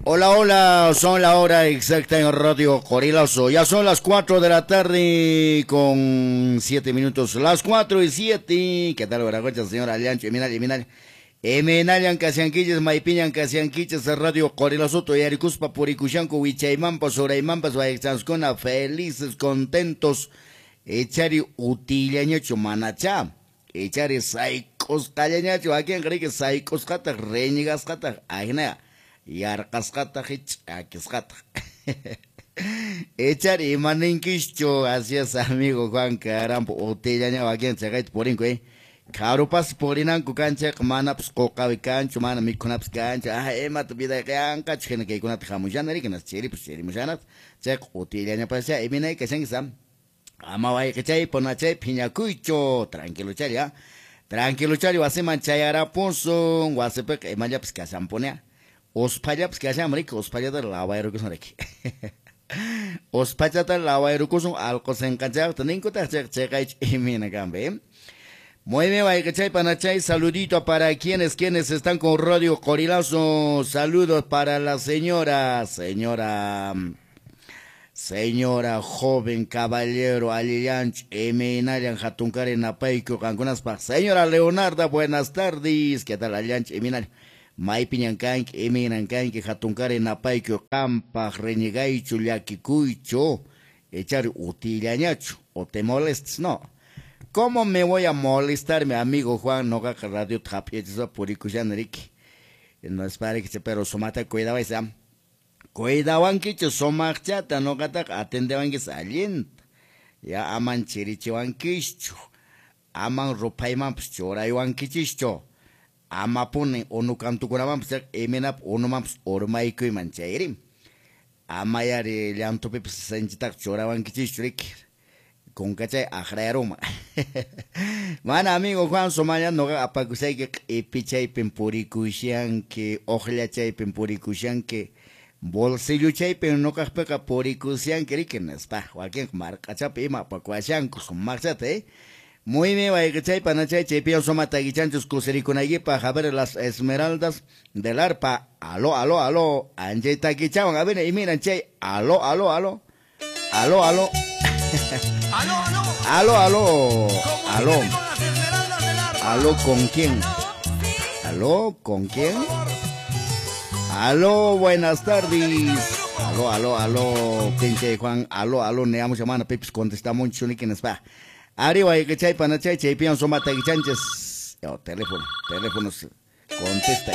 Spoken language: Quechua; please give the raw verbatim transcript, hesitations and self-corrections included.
Hola, hola, son la hora exacta en Radio Qorilazo. Ya son las cuatro de la tarde con siete minutos. Las cuatro y siete. ¿Qué tal, Veragocha, señora Allancho? Eminal, Eminal. Eminallan Kasianquiches, Maypiñan Kasianquiches, Radio Qorilazo, Toyaricuspa, Purikushanku, Wichaymampas, Uraymampas, Vallechanskuna, felices, contentos. Echari utillañacho manachá. Echari sayk'usqallañachu. Wakin riki sayk'usqataq, reñigasqataq, ajina. Yarqasqataq, ch'akisqataq. Echari imaninkichu, así es, amigo Juan Carampo, utillaña wakin chaqayta purinku, eh. Karupas purinanku kanchayqa manapas quqawi kanchu, mana mikhunapas kanchu. Ah, imata vidayqa yanqachu hina kaykunata hamushana riki, nas chiripas chirimushanata. Chayqa utillañapascha iminay kashanki sam. Ama wayqichay ponachay phiñakuychu, tranquilo chari, ah. Tranquilo chari wasiman chayarapusun, wasipiqa imallapas kashanpunia. Usphallapas kashan riki, usphallata lawayrukusun riki. Usphallata lawayrukusun alqu sinqanchayqta ninkutaq chayqa chayqaychu imina kanpi, eh. Muy bien, wayqichay panachay, saludito para quienes, quienes están con Radio Qorilazo. Saludos para la señora, señora, señora joven caballero Alillanch, Eminallan Hatunkari Napayku, qankunaspaq. Señora Leonarda, buenas tardes. ¿Qué tal, Alillanch, Eminal? Maypiñan kanki, iminan kanki, hatunkari napayku, qampaq reñigaychu, llakikuychu, echari utillañachu, o te molestes, no. ¿Cómo me voy a molestar, mi amigo Juan? Noqaqa radio hap'iyachispa purikushani riki. No es para que pero sumata cuidawaysi, am. Cuidawankichu sumaqchata, noqataqa atendewankis allinta. Ya aman chirichiwankischu, aman ruphaymanpas churaywankichischu. Amapuni unu kantukunamanpas iminap unumanpas urmaykuyman chayri. Amayari llantupipas sinchitaqa churawankichischu riki. Kunkachay aqrayaruma. Mana amigo Juan Somaya noqa apakusayki q'ipichaypin purikushanki, uqllachaypin purikushanki, bolsilluchaypin noqaqpiqa purikushanki riki nispa. Wakinqa marq'achapi ima apakuwashanku sumaqchata, eh. Muy bien, wayqichay panachay chaypiyan suma taquichanchus kusirikunaykipaq. A ver, las esmeraldas del arpa. Aló, aló, aló. Anchay taquichawan. A ver, y miran, chay. Aló, aló, aló. Aló, aló. Aló, aló. Aló, aló. Aló. Comuníqueme con las esmeraldas del arpa. Aló, ¿con quién? Aló, ¿con quién? Aló, buenas tardes. Aló, aló, aló, pinche Juan. Aló, aló, neamos llamando, pipis, contestamos mucho, ni quién está. Arriba, y que chay, panachay, chaypian, soma, taquichanches. Oh, teléfono, teléfonos, contesta.